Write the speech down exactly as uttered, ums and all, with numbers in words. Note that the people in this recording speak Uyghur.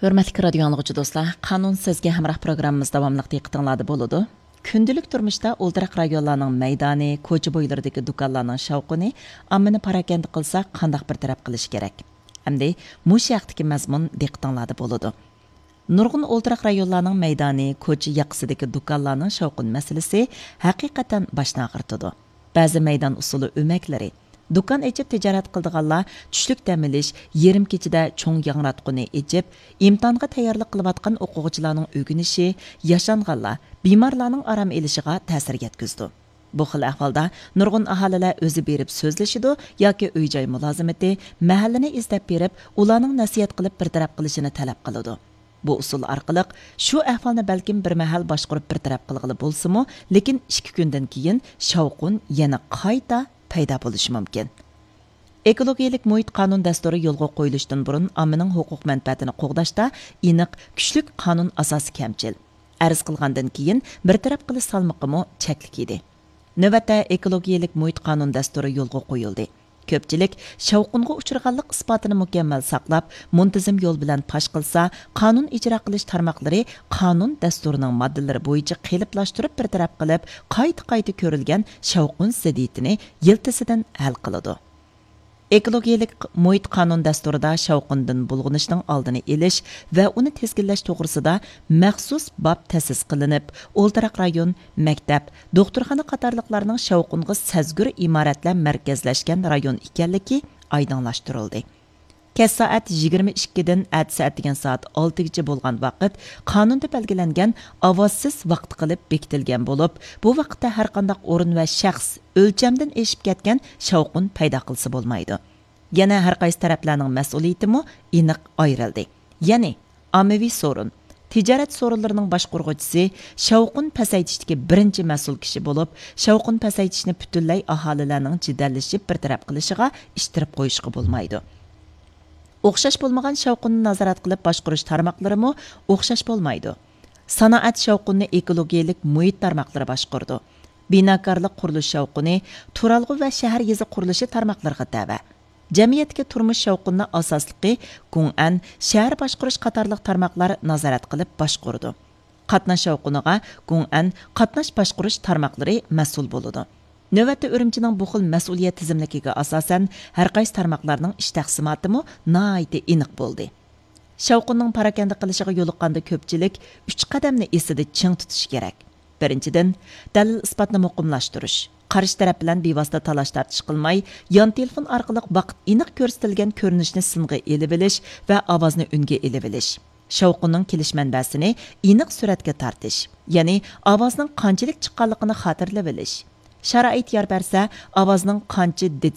ھۆرمەتلىك رادىيو ئاڭلىغۇچى دوستلار، قانۇن سىزگە ھەمراھ پروگراممىمىز داۋاملىق دىققىتىڭلاردا بولىدۇ. كۈندىلىك تۇرمۇشتا ئولتۇراق رايونلارنىڭ مەيدانى، كوچا بويلىرىدىكى دۇكانلارنىڭ شاۋقۇنى ئاممىنى پاراكەندە قىلسا، قانداق بىر تەرەپ قىلىش كېرەك؟ ئەمدى مۇشۇ ھەقتىكى مەزمۇن دىققىتىڭلاردا بولىدۇ. نۇرغۇن ئولتۇراق رايونلارنىڭ مەيدانى، كوچا ياقىسىدىكى دۇكانلارنىڭ شاۋقۇن مەسىلىسى ھەقىقەتەن باشنى ئاغرىتىدۇ. بەزى مەيدان ئۇسسۇلى ئۆمەكلىرى، دۇكان ئېچىپ تىجارەت قىلىدىغانلار چۈشلۈك دەم ئېلىش، يېرىم كېچىدە چوڭ ياڭراتقۇنى ئېچىپ، ئىمتىھانغا تەييارلىق قىلىۋاتقان ئوقۇغۇچىلارنىڭ ئۆگىنىشى، ياشانغانلار، بىمارلارنىڭ ئارام ئېلىشىغا تەسىر يەتكۈزىدۇ. بۇ خىل ئەھۋالدا نۇرغۇن ئاھالىلەر ئۆزى بېرىپ سۆزلىشىدۇ ياكى ئۆي-جاي مۇلازىمىتى، مەھەللىنى ئىزدەپ بېرىپ، ئۇلارنىڭ نەسىھەت قىلىپ بىر تەرەپ قىلىشىنى تەلەپ قىلىدۇ. بۇ ئۇسۇل ئارقىلىق شۇ ئەھۋالنى بەلكىم بىر مەھەل باشقۇرۇپ بىر تەرەپ قىلغىلى بولسىمۇ، لېكىن ئىككى كۈندىن كېيىن شاۋقۇن يەنە قايتا پەيدا بولۇشى مۇمكىن. ئېكولوگىيەلىك مۇھىت قانۇن دەستۇرى يولغا قويۇلۇشتىن بۇرۇن ئاممىنىڭ ھوقۇق مەنپەئەتىنى قوغداشتا ئېنىق، كۈچلۈك قانۇن ئاساسى كەمچىل. ئەرز قىلغاندىن كېيىن بىر تەرەپ قىلىش سالمىقىمۇ چەكلىك ئىدى. نۆۋەتتە ئېكولوگىيەلىك مۇھىت قانۇن دەستۇرى يولغا قويۇلدى. كۆپچىلىك شاۋقۇنغا ئۇچرىغانلىق ئىسپاتىنى مۇكەممەل ساقلاپ، مۇنتىزىم يول بىلەن پاش قىلسا، قانۇن ئىجرا قىلىش تارماقلىرى قانۇن دەستۇرىنىڭ ماددىلىرى بويىچە قېلىپلاشتۇرۇپ بىر تەرەپ قىلىپ، قايتا-قايتا كۆرۈلگەن شاۋقۇن زىددىيىتىنى يىلتىزىدىن ھەل قىلىدۇ. ئېكولوگىيەلىك مۇھىت قانۇن دەستۇرىدا شاۋقۇندىن بۇلغىنىشنىڭ ئالدىنى ئېلىش ۋە ئۇنى تىزگىنلەش توغرىسىدا مەخسۇس باب تەسىس قىلىنىپ، ئولتۇراق رايون، مەكتەپ، دوختۇرخانا قاتارلىقلارنىڭ شاۋقۇنغا سەزگۈر ئىمارەتلەر مەركەزلەشكەن رايون ئىكەنلىكى ئايدىڭلاشتۇرۇلدى. كەچ سائەت يىگىرمە ئىككىدىن ئەتىسى ئەتىگەن سائەت ئالتىگىچە بولغان ۋاقىت قانۇندا بەلگىلەنگەن ئاۋازسىز ۋاقىت قىلىپ بېكىتىلگەن بولۇپ، بۇ ۋاقىتتا ھەرقانداق ئورۇن ۋە شەخس ئۆلچەمدىن ئېشىپ كەتكەن شاۋقۇن پەيدا قىلسا بولمايدۇ. يەنە ھەرقايسى تەرەپلەرنىڭ مەسئۇلىيىتىمۇ ئېنىق ئايرىلدى. يەنى، ئاممىۋى سورۇن، تىجارەت سورۇنلىرىنىڭ باشقۇرغۇچىسى شاۋقۇن پەسەيتىشتىكى بىرىنچى مەسئۇل كىشى بولۇپ، شاۋقۇن پەسەيتىشنى پۈتۈنلەي ئاھالىلەرنىڭ جېدەللىشىپ بىر تەرەپ قىلىشىغا ئىتتىرىپ قويۇشقا بولمايدۇ. ئوخشاش بولمىغان شاۋقۇننى نازارەت قىلىپ باشقۇرۇش تارماقلىرىمۇ ئوخشاش بولمايدۇ. سانائەت شاۋقۇنىنى ئېكولوگىيەلىك مۇھىت تارماقلىرى باشقۇرىدۇ. بىناكارلىق، قۇرۇلۇش شاۋقۇنى تۇرالغۇ ۋە شەھەر يېزا قۇرۇلۇشى تارماقلىرىغا تەۋە. جەمئىيەتتىكى تۇرمۇش شاۋقۇنىنىڭ ئاساسلىقى گۇڭئەن، شەھەر باشقۇرۇش قاتارلىق تارماقلار نازارەت قىلىپ باشقۇرىدۇ. قاتناش شاۋقۇنىغا گۇڭئەن قاتناش باشقۇرۇش تارماقلىرى مەسئۇل بولىدۇ. نۆۋەتتە ئۈرۈمچىنىڭ بۇ خىل مەسئۇلىيەت تىزىملىكىگە ئاساسەن، ھەرقايسى تارماقلارنىڭ ئىش تەقسىماتىمۇ ناھايىتى ئېنىق بولدى. شاۋقۇننىڭ پاراكەندە قىلىشىغا يولۇققاندا كۆپچىلىك ئۈچ قەدەمنى ئېسىدە چىڭ تۇتۇشى كېرەك. بىرىنچىدىن، دەلىل-ئىسپاتنى مۇقىملاشتۇرۇش. قارشى تەرەپ بىلەن بىۋاسىتە تالاش-تارتىش قىلماي، يان تېلېفون ئارقىلىق ۋاقىت ئېنىق كۆرسىتىلگەن كۆرۈنۈشنى سىنغا ئېلىۋېلىش ۋە ئاۋازنى ئۈنگە ئېلىۋېلىش. شاۋقۇننىڭ كېلىش مەنبەسىنى ئېنىق سۈرەتكە تارتىش، يەنى ئاۋازنىڭ قانچىلىك چىققانلىقىنى خاتىرىلىۋېلىش. شارائىت يار بەرسە، ئاۋازنىڭ قانچە دىت